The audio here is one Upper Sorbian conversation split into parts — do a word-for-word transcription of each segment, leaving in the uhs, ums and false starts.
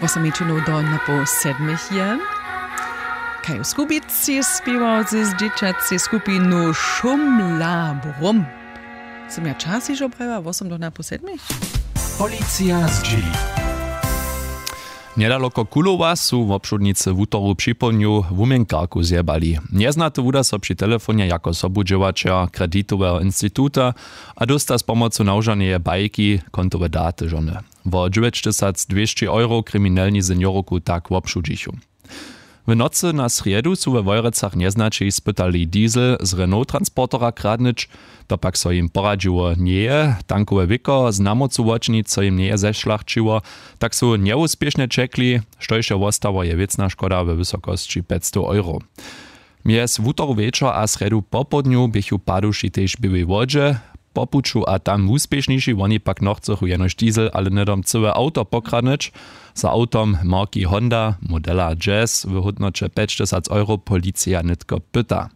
Wosomničinow do napoł sedmich je. Kaj w Skubici spěwał z dźěćacej skupinu Šumla Brum? Sym ja čas hižo prajiła wosem do napoł sedmich? Policija zdźěli. Njedaloko Kulowa su wobšudnicy wutoru připołdnju wuměnkarku zjebali. Njeznaty wuda so při telefonje jako sobudźěłaćer kreditoweho instituta a dósta z pomocu nawžaneje bajki kontowe daty žony. Wo dźewjećtysacdwěsći euro kriminelni seniorku tak wobšudźichu. W nocy na srjedu su we Wojerecach njeznaćej spytali diesel z Renault transportera kradnyć. To pak so jim poradźiło njeje. Tankowe wěko z namocu wočinić so jim njeje zešlachćiło, tak su njewuspěšnje ćekli. Štož je wostało, je wěcna škoda we wysokosći pjećstow euro. Mjez wutoru wječor a srjedu popołdnju běchu paduši tež w Běłej Wodźe po puću a tam wuspěšniši. Woni pak nochcychu jenož diesel, ale hnydom cyłe awto pokradnyć. Za awtom marki Honda modela Jazz w hódnoće pjećtysac euro policija nětko pyta.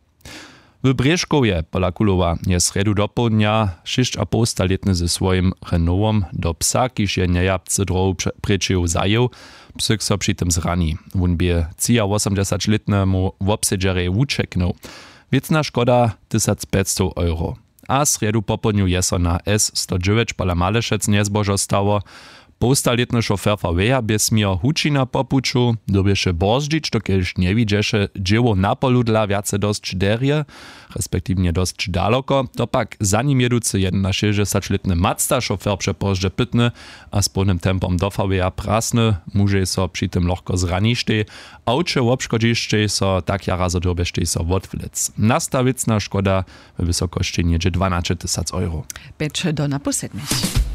W Brěžkowje pola Kulowa je srjedu dopołdnja šěsćapołstalětny ze swojim Renaultom do psa, kiž je njejapcy dróhu prěčeju zajěł. Psyk so při tym zrani. Wón bě třiawosomdźesaćlětnemu wobsedźerjej wućeknył. Wěcna škoda tysacpjećstow euro. A srjedu popołdnju je so na S sto dźewjeć pola Malešec njezbožo stało. Połstalětny šofer V W-ja bě směr Hučina po puću dyrbješe borzdźić, dokelž njewidźeše dźěłow na polu dla wjace dosć derje, respektiwnje dosć daloko. To pak za nim jěducy jedynašěsćdźesaćlětny Mazda šofer přepozdźe pytny a z połnym tempom do V W-ja prasny. Mužej so při tym lochko zraništej. Awče wobškodźištej so tak jara zo dyrbještej so wotwlec. Nasta wěcna škoda we wysokosći něhdźe dwanaće tysac euro. Pjeć do napoł sedmich.